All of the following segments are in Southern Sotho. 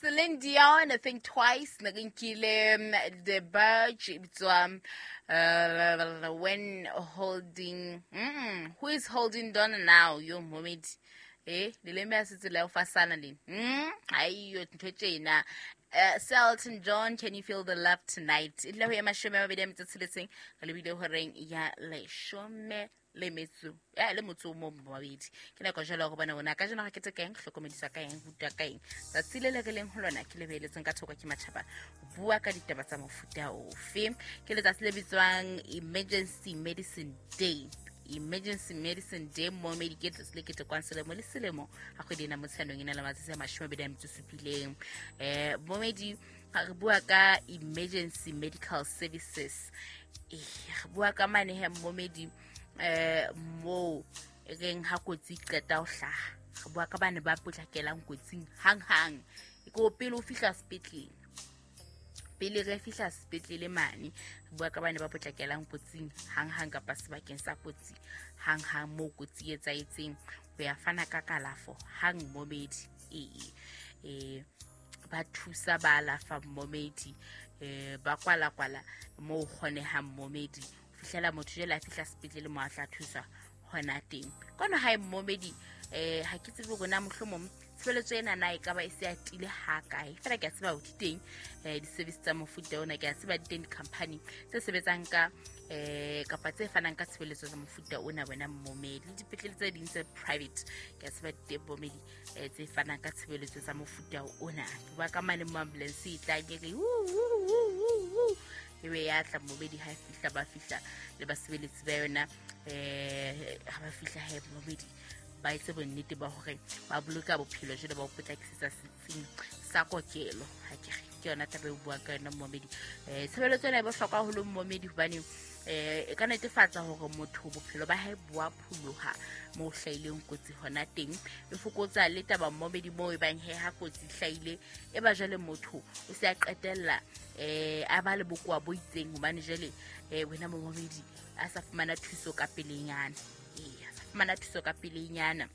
Celine Dion, I Think Twice, ne re nkile The Burge e bitswa When Holding Who is Holding Donna Now? Yo momedi. Leleme a se tsela ya ho fasana le. Aiyo ntho tjena. Elton John, Can You Feel the Love Tonight? E dula ho ya 26, re lebile horeng ya 12 le metso ya le motso o mong mabedi. Ke nako jalo ya go bona ona ka jeno ga kete ka eng, hlokomediswa ka eng, rutwa ka eng. Tsatsi le le re leng ho lona ke le beeletseng ka thoko ke matjhaba ho bua ka ditaba tsa mofuta ofe. Ke letsatsi le bitswang Emergency Medicine Day. Emergency Medicine Day momedi ke letsatsi le ketekwang selemo le selemo ga kgwedi ena Motsheanong e na le matsatsi a 27. Momedi ga re bua ka emergency medical services, re bua ka mane he momedi, moo e reng ha kotsi e qeta ho hlaha, re bua ka bane ba potlakelang kotsing hang-hang, e ko pele o fihla sepetlele, pele re fihla sepetlele mane, re bua ka bane ba potlakelang kotsing hang-hang kapa sebakeng sa kotsi hang-hang moo kotsi e etsahetseng, ho ya fana ka kalafo hang momedi. Ee, ba thusa, ba alafa momedi, ba kwala-kwala moo kgonehang momedi, ho fihlela motho jwale a fihla sepetlele mo a tla thuswa hona teng. Kono hae momedi, ha ke tsebe hore na mohlomong tshebeletso ena na e ka ba e se atile ha kae, fela ke a tseba hore di teng di-service tsa mofuta ona, ke a tseba di teng di-company tse sebetsang ka kapa tse fanang ka tshebeletso tsa mofuta ona wena momedi, le dipetlele tse ding tse private ke a tseba di teng momedi, tse fanang ka tshebeletso tsa mofuta ona. Ke bua ka mane mo ambulance e tlang e re ebe ya tla momedi, ha e fihla ba fihla le basebeletsi ba yona, ha ba fihla he momedi ba etse bonnete ba hore ba boloka bophelo jwale ba o potlakisetsa setsing sa kokelo. Ha ke re ke yona taba e buang ka yona momedi. Tshebeletso ena e bohlokwa haholo momedi, hobane e ka netefatsa hore motho bophelo ba hae bo a pholoha moo hlahileng kotsi hona teng. E fokotsa le taba momedi moo e bang he ha kotsi hlahile e ba jwale motho o se a qetella a ba le bokowa bo itseng, hobane jwale wena momedi a sa fumana thuso ka pelenyana. A sa fumana thuso ka pelenyana,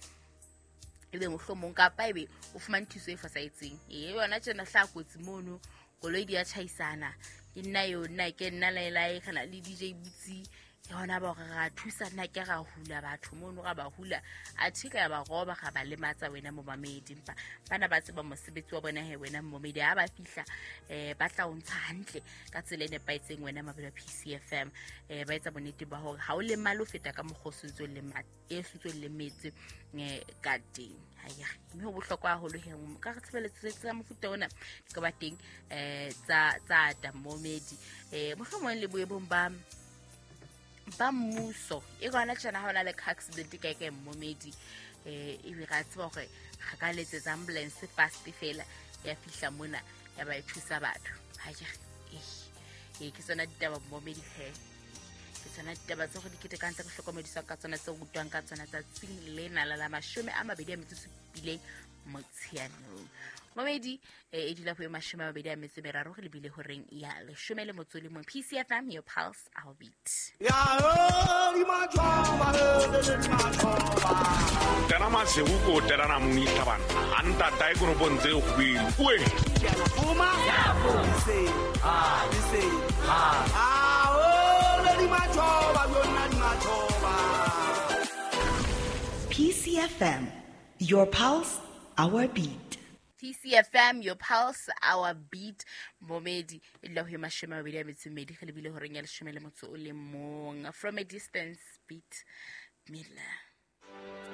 ebe mohlomong kapa ebe o fumane thuso e fosahetseng. Yona tjena hlaha kotsi mono, koloi di a tjhaisana, ke nna eo, nna ke nna laelae kana le DJ Butsi, ke hona ba hore ra thusa, nna ke ra hula batho mono, ra ba hula, athe ka ya ba roba, ra ba lematsa wena momamedi. Empa bana ba tseba mosebetsi wa bona he wena momamedi, ha ba fihla ba tla o ntsha hantle ka tsela e nepahetseng wena mabelo a PCFM, ba etsa bonnete ba hore ha o lemale ho feta ka mokgwa o sentse o e sentse o lemetse ka teng. Mme ho bohlokwa haholo he ka re tshebeletso tsa mofuta ona di ka ba teng tsa ata momedi, mohlomong le boemong ba mmuso. E gona tjena ha hona le car accident kae kae momedi, ebe ra tseba hore re ka letsetsa ambulance fast fela ya fihla mona ya ba e thusa batho. Ha ke re ke tsona ditaba momedi he, ke tsona ditaba tse go di ketekang, tse re hlokomediswang ka tsona, tse rutwang ka tsona tsatsing lena la 27 Motsheanong momedi. E dula ho 23, re lebile horeng ya 11. PCFM, your pulse, our beat. Tena masego ko terana mong itlhabana a ntata e koropong tse kgobedi oe. PCFM, your pulse, our beat. PCFM, your pulse, our beat. Momedi, e dula ho 22, re lebile horeng ya 11. From a Distance, Beat Miller.